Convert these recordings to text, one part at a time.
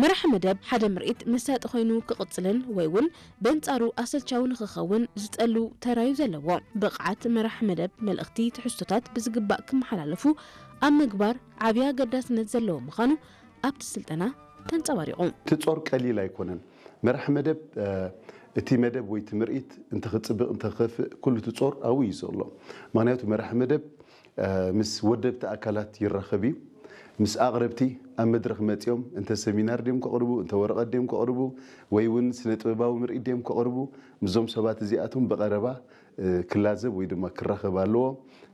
መራሕ መደብ ሓደ ምርኢት መሳጢ ኮይኑ ክቕጽልን ወይ እውን በንጻሩ ኣሰልቻዊ ንኽኸውን ዝጸሉ ተራዩ ዘለዎ። ብቕዓት መራሕ መደብ መልእኽቲ ትሕዝቶታት ብዝግባእ ክመሓላለፉ ኣብ ምግባር ዓብዪ ኣገዳስነት ዘለዎ ምዃኑ ኣብቲ ስልጠና ተንጸባሪቑ። እቲ ጾር ቀሊል ኣይኮነን። መራሕ መደብ እቲ መደብ ወይ እቲ ምርኢት እንተኽጽብቕ እንተኽኸፍእ ኩሉ እቲ ጾር ኣብኡ እዩ ዘሎ። ምክንያቱ መራሕ መደብ ምስ ወደብቲ ኣካላት ይራኸብ እዩ። ምስ ኣቕረብቲ ኣብ መድረኽ መጺኦም እንተ ሰሚናር ድዮም ከቕርቡ፣ እንተ ወረቐት ድዮም ከቕርቡ፣ ወይ እውን ስነ ጥበባዊ ምርኢት ድዮም ከቕርቡ፣ ምስዞም ሰባት እዚኣቶም ብቐረባ ክላዘብ ወይ ድማ ክራኸብ ኣለዎ።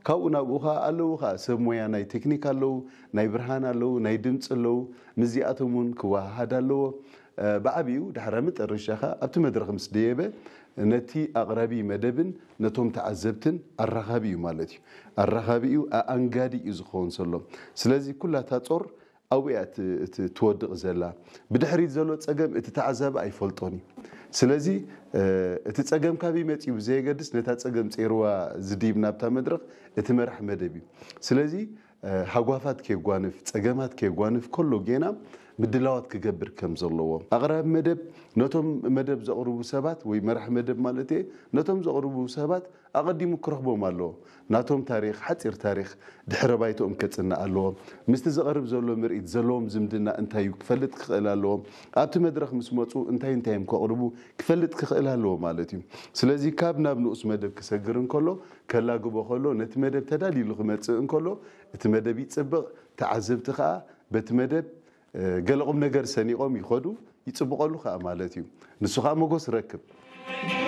ካብኡ ናብኡ ኸዓ ኣለዉ ኸዓ ሰብ ሞያ ናይ ቴክኒክ ኣለዉ፣ ናይ ብርሃን ኣለዉ፣ ናይ ድምፂ ኣለዉ። ምስዚኣቶም እውን ክወሃሃድ ኣለዎ። ብዓብኡ ድሕረ መጠረሻ ኸዓ ኣብቲ መድረኽ ምስ ደየበ ነቲ ኣቕራቢ መደብን ነቶም ተዓዘብትን ኣራኻቢ እዩ ማለት እዩ። ኣራኻቢ እዩ፣ ኣኣንጋዲ እዩ ዝኸውን ዘሎ። ስለዚ ኩላታ ጾር ኣብኡ እያ ትወድቕ ዘላ። ብድሕሪት ዘሎ ጸገም እቲ ተዓዛቢ ኣይፈልጦን እዩ። ስለዚ እቲ ጸገም ካበይ መጺኡ ብዘየገድስ ነታ ጸገም ጸይርዋ ዝድይብ ናብታ መድረኽ እቲ መራሕ መደብ እዩ። ስለዚ ሃጓፋት ከየጓንፍ፣ ጸገማት ከየጓንፍ ከሎ ጌና ምድላዋት ክገብር ከም ዘለዎ ኣቕራቢ መደብ ነቶም መደብ ዘቕርቡ ሰባት ወይ መራሕ መደብ ማለት እየ ነቶም ዘቕርቡ ሰባት ኣቐዲሙ ክረኽቦም ኣለዎ። ናቶም ታሪኽ፣ ሓጺር ታሪኽ ድሕረ ባይትኦም ከጽንዕ ኣለዎ። ምስቲ ዝቐርብ ዘሎ ምርኢት ዘለዎም ዝምድና እንታይ እዩ ክፈልጥ ክኽእል ኣለዎ። ኣብቲ መድረኽ ምስ መጹ እንታይ እንታይ እዮም ከቕርቡ ክፈልጥ ክኽእል ኣለዎ ማለት እዩ። ስለዚ ካብ ናብ ንኡስ መደብ ክሰግር እንከሎ፣ ከላግቦ ከሎ፣ ነቲ መደብ ተዳልዩሉ ክመጽእ እንከሎ እቲ መደብ ይጽብቕ፣ ተዓዘብቲ ከኣ በቲ መደብ ገለ ቁም ነገር ሰኒቖም ይኸዱ፣ ይጽብቐሉ ከኣ ማለት እዩ። ንሱ ከኣ መጎስ ረክብ።